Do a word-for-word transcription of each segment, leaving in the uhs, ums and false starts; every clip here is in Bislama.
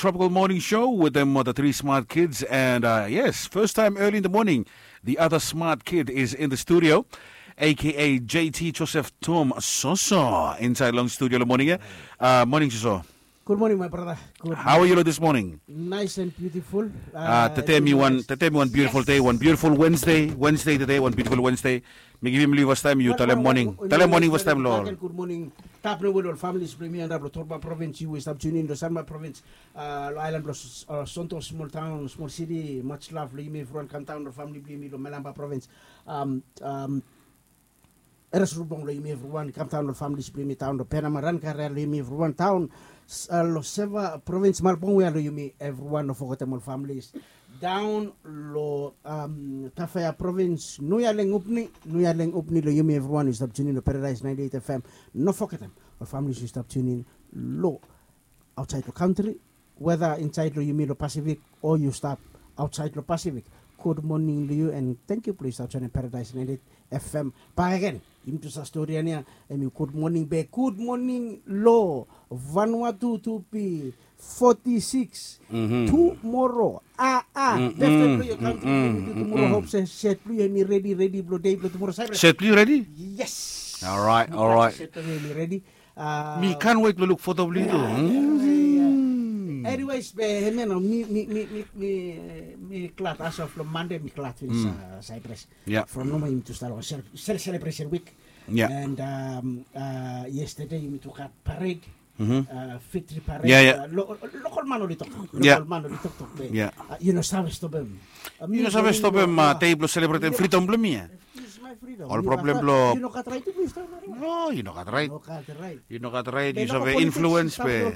Tropical Morning Show with them, uh, the three smart kids. And, uh, yes, first time early in the morning, the other smart kid is in the studio, A K A J T Joseph Tom Soso inside long studio lo morning ia. Uh, morning, Soso. Good morning, my brother. Good morning. How are you this morning? Nice and beautiful. Uh, tete mi wan, tete mi wan beautiful day, wan beautiful Wednesday. Wednesday tete, wan beautiful Wednesday. Mi givim long yu fastaem yu talem moning. Talem moning fastaem lo ol. Good morning. Tap nomo lo ol familis blong yumi antap lo Torba Province, yu we stap tune in lo Sanma Province. Uh, lo aelan blo Sonto, smol taon, smol siti, much love lo yumi evriwan, kam daon lo famili blong yumi lo Melamba Province. Um, um, Eres Rubong lo yumi evriwan, kam daon lo familis blong yumi daon lo Penama, Rankaria lo yumi evriwan daon, uh, lo Seva Province, Malbong we lo yumi evriwan, no fogetem ol familis. Daon lo, um, Tafea Province, Nuya Leng Upni, Nuya Leng Upni lo yumi evriwan yu stap tune in lo Paradise ninety-eight F M. No fogetem ol familis yu stap tune in lo aotsaed lo kantri, weda insaed lo yumi lo Pasifik o yu stap aotsaed lo Pasifik. Good morning lo yu and thank you blo yu stap joenem Paradise ninety-eight F M bakegen. Yumi tu sa stori ia, hemi good morning be good morning lo Vanuatu, tu pi forty-six. Tumoro, a, a, befta blo yu kantri, tumoro hop se set blo yu hemi redi, redi blo dei blo tumoro. Set blo yu redi? Yes. Alright, alright. Set blo yu hemi redi. Mi can't wait lo luk foto blo yu tu. Anyways, be hemia nao mi, mi, mi, mi, mi glad as of lo Mande mi glad finis, uh, Cyprus. From nomo yumi tu stap lo sel, sel, celebration week. And, um, uh, yesterday yumi tu gat parade. Uh, Fitri parade. Uh, lo, lokol man oli toktok. Lokol man oli toktok be. Uh, yu no save stopem. Uh, yu no save stopem, uh, dei blo selebretem fridom blo mi ia. Ol problem blo, yu no gat raet tu blo yu stap. No, yu no gat raet. Yu no gat raet. Yu save influence be.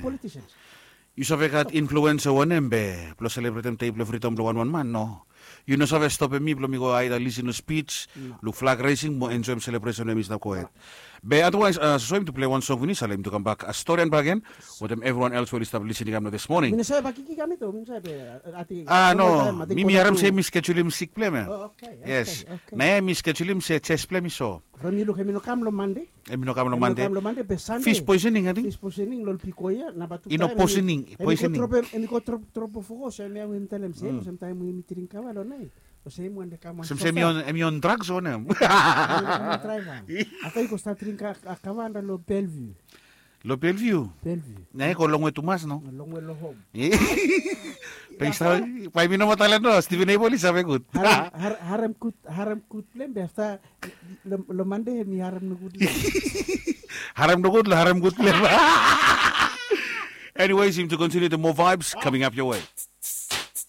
Yu save gat influence wanem be blo selebretem dei blo fridom blo wanwan man, no. Yu no save stopem mi blo mi go aeda lisin lo spij, luk flag raising mo enjoem selebresen we mi stap gohed. Be otherwise, uh, Soso, yumi tu pilai wan song finis, ale yumi tu kambak, uh, storian bakegen wetem evriwan els we oli stap lisin i kam nao this morning. Mi no save bakiki kam i tu, mi no save, uh, ating. Ah, no, mi, mi harem se mi skejulim sik blo hem ia. Oh, okay. Yes. Naoia mi skejulim se jes blo hem i so. From yu luk, hemi no kam lo Mande. Hemi no kam lo Mande. Hemi no kam lo Mande, be Sande. Fish poisoning, ating. Fish poisoning lo ol piko ia, namba tu. I no poisoning, poisoning. Hemi go drop, drop of course, hemia we mi talem se olsem taem we yumi dring kava lo naet. Olsem hemi on, hemi on drugs o wanem. Hemi on drugs. Afta i go stap dring kava antap lo Bellevue. Lo Bellevue. Bellevue. Naoia i go longwe tumas, no? Longwe lo hom. Be i stap, bae mi no moa talem, no, Stephen Abel i save gud. Harem, har-, harem gud, harem gud blo hem be afta lo, lo Mande mi harem nogud lo hem. Harem nogud lo harem gud blo hem. Anyways, yumi tu continue the more vibes coming up your way.